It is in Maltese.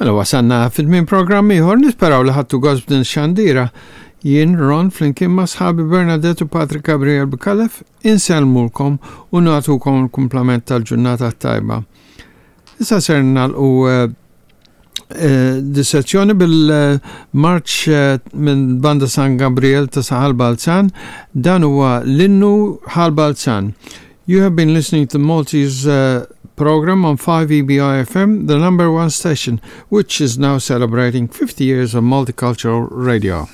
Mela wasanna fil-min programm ieħor nisperaw li ħadtu gost b'din xandira. Jien Ron flimkien ma' sħabi Bernadette u Patrick Gabriel Bkalef insellmulkom u nagħtukom il-kumplament tal-ġurnata tajba. Issa ser nagħlqu eh, eh, dissezzjoni bil-marċ eh, minn Banda San Gabriel ta' Saħal Balzan, dan huwa l-innu Ħal Balzan. You have been listening to Maltese uh, program on 5EBI FM, the number one station, which is now celebrating 50 years of multicultural radio.